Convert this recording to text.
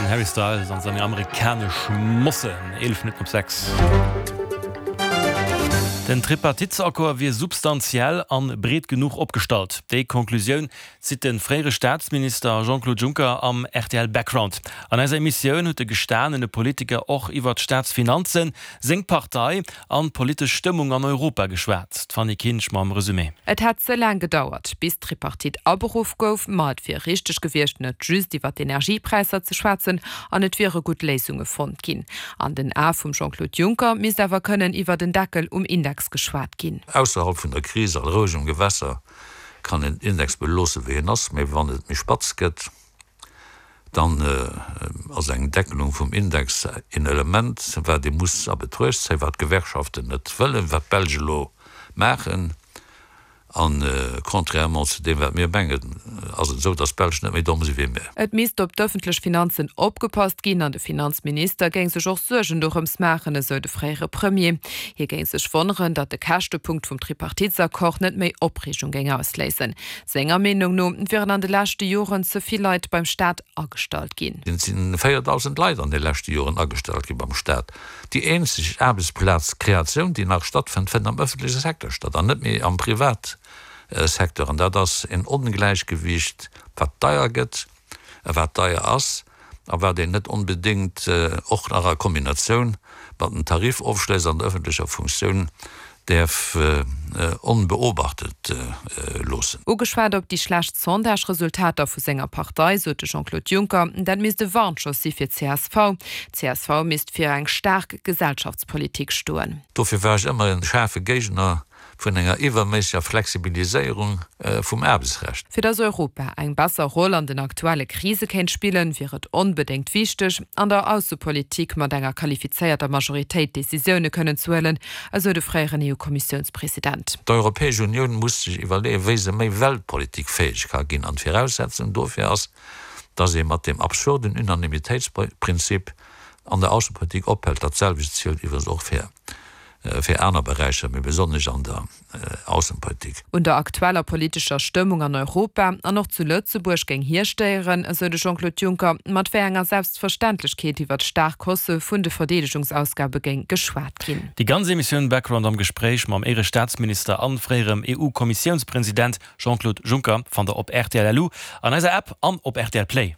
Den Harry Styles an seng amerikanesch Mossen. 11 Minutten op 6. Den Tripartitesaccord wier substantiell an breet genuch opgestallt. Déi Konklusioun zitt de fréiere Staatsminister Jean-Claude Juncker am rtl Background. An eiser Emissioun huet de gestanene Politiker och iwwer d'Staatsfinanzen, seng Partei an d'politesch Stëmmung an Europa geschwat. D'Fanny Kinsch mam Resumé. Et hätt ze laang gedauert, bis d'Tripartite aberuff gouf, ma et wier richteg gewiescht, net just iwwer d'Energiepräisser ze schwätzen an et wiere gutt Léisunge fonnt ginn. An den Ae vum Jean-Claude Juncker misst awer kënnen iwwer en Deckel um Index geschwat ginn. Ausserhalb vun der Kris a rouegem Gewässer kann een den Index beloosse wéi en ass, mee wann et méi spatz gëtt, Dann ass eng Deckelung vum Index een Element, wat ee muss a Betruecht zéien, wat d'Gewerkschaften net wëllen, wat d'Belsch elo maachen. A contrairement zu deem, wat mir mengen, ass et esou, datt d'Belsch net méi domm si wéi mir. Et misst op d'ëffentlech Finanzen opgepasst ginn an de Finanzminister géing sech och Suergen dorëms maachen, esou de fréiere Premier. Hie géing sech wonneren, datt de Käschtepunkt vum Tripartitesaccord net méi Opreegung géing ausléisen. Senger Meenung no wieren an de leschte Joren ze vill Leit beim Staat agestallt ginn. Et si 4.000 Leit an de leschte Joren agestallt gi beim Staat. Déi eenzeg Aarbechtsplazkreatioun, déi nach stattfënnt, fënnt am ëffentleche Secteur statt an net méi am Privatsecteur. An dat ass en Ongläichgewiicht, wat deier gëtt. a wat deier ass a wat een net onbedéngt och nach a Kombinatioun mat den Tarifofschléss an der ëffentlecher Funktioun däerf onbeobachtet loossen. Ugeschwat op déi schlecht Sondage-Resultater vu senger Partei, sot de Jean-Claude Juncker, dat misst e Warnschoss si fir d'CSV. D'CSV misst fir eng staark Gesellschaftspolitik stoen. Dofir war ech ëmmer e schaarfe Géigner vun enger iwwerméisseger Flexibiliséierung vum Aarbechtsrecht. Fir datt Europa eng besser Roll an den aktuelle Krise kéint spillen, wier et onbedéngt wichteg, an der Aussepolitik mat enger qualifizéierter Majoritéit Decisioune kënnen ze huelen, esou de fréieren EU-Kommissiounspresident. D'Europäesch Unioun muss sech iwwerleeën, wéi se méi weltpolitikfäeg ka ginn. An d'Viraussetzung dofir ass, datt ee mat deem absurden Unanimitéitsprinzip an der Aussepolitik ophält. Dat selwecht zielt iwwregens och fir fir aner Beräicher, mee besonnesch an der Aussenpolitik. Un der aktueller politescher Stëmmung an Europa an och zu Lëtzebuerg géing hie stéieren, esou de Jean-Claude Juncker, mat wéi enger Selbstverständlechkeet iwwer d'staark Hausse vun de Verdeedegungsausgabe géing geschwat ginn. Déi ganz Emissioun Background am Gespréich mam Éierestaatsminister an fréierem EU-Kommissiounspresident Jean-Claude Juncker fannt der op rtl.lu, an eiser App an op rtl Play.